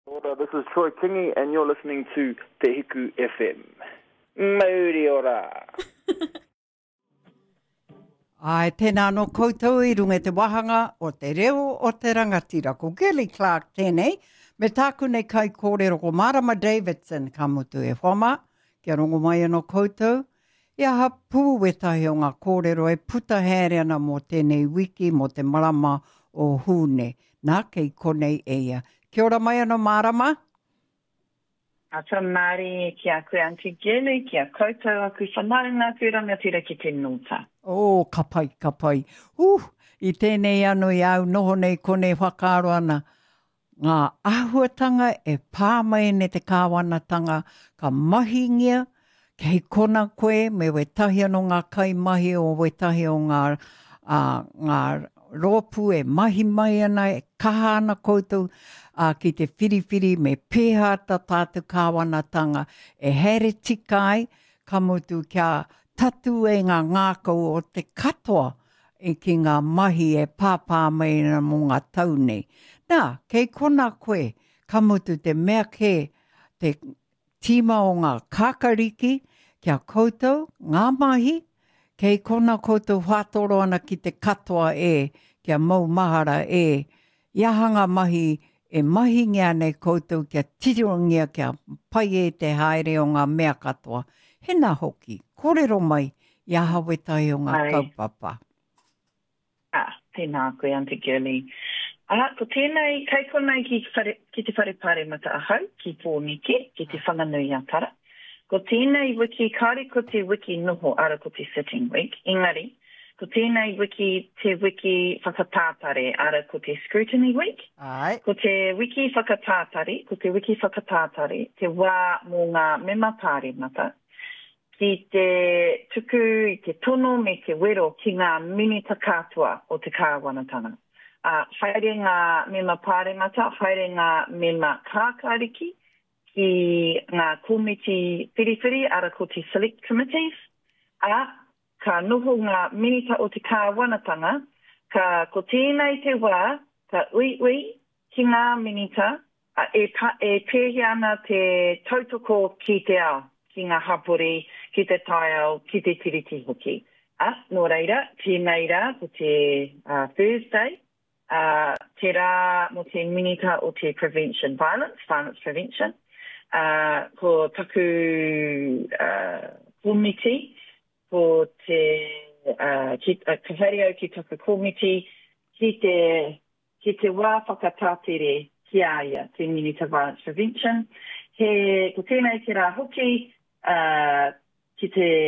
Ora, this is Troy Kingi and you're listening to Te Hiku FM. Mauri ora! Āe, tēnā anō koutou i runga i te wāhanga o te reo o te rangatira. Ko Girlie Clark tēnei, me tāku nei kaikōrero ko Marama Davidson, ka mutu e hoa mā, kia rongo mai anō koutou, I aha pū wētahi o ngā kōrero e puta haere ana mō tēnei wiki, mō te marama o Hūne. Nā, kei konei e ia. Kia ora mai anō Mārama. Ata mārie ki a koe Aunty Girlie, ki a koutou aku whanaunga, aku rangatira ki te nōta. Oh, ka pai, ka pai. Huh, i tēnei ano i a au noho nei konei whakaaro ana, Ngā āhuatanga e pā mai nei te kāwanatanga ka mahingia, kei kona koe me wētahi anō ngā kaimahi o wētahi o ngā, ā, ngā rōpū e mahi mai ana, e kaha ana koutou, ā, ki te whiriwhiri me pēhā tā tātou kāwanatanga e haere tika ai, ka mutu kia tatū ai ngā ngākau o te katoa i ki ngā mahi e pāpā mai ana mō ngā tau nei. Nā, kei konā koe, ka mutu te mea kē, te tīma o ngā kākariki, ki a koutou, ngā mahi, kei konā koutou whātoro ana ki te katoa e, kia mau mahara e, I aha ngā mahi e mahingia nei koutou kia tirongia kia pai e te haere o ngā mea katoa? Hena hoki, kōrero mai i aha wētahi o ngā kaupapa. Ā, tēnā koe, Aunty Girlie. Ā, ko tēnei, kei konei ki, whare, ki te whare pāremata ahau, ki Pōneke, ki Te Whanganui-a-Tara. Ko tēnei wiki, kāore ko te wiki noho, ara ko te sitting week, engari, Ko tēnei wiki te wiki whakatātare, ara ko te scrutiny week. Āe. Ko te wiki whakatātare, ko te wiki whakatātare, te wā mō ngā mema pāremata ki te tuku i te tono me te wero ki ngā minita katoa o te kāwanatanga. Ā, haere ngā mema pāremata, haere ngā mema kākāriki ki ngā komiti whiriwhiri, ara ko te select committees, ā, Ka noho ngā Minita o te Kāwanatanga, ka ko tēnei te wā ka uiui ki ngā Minita e e pēhea ana te tautoko ki te ao, ki ngā hapori, ki te taiao, ki te Tiriti hoki. Ā, nō reira, tēnei rā, ko te Thursday, ā, te rā mō te Minita o te Prevention Violence, Violence Prevention, ā, ko taku komiti, ko te, ā, ki, ka haere au ki taku komiti ki te, ki te wā whakatātere ki a ia, te Minita Violence Prevention. He, ko tēnei te rā hoki, ā, ki te.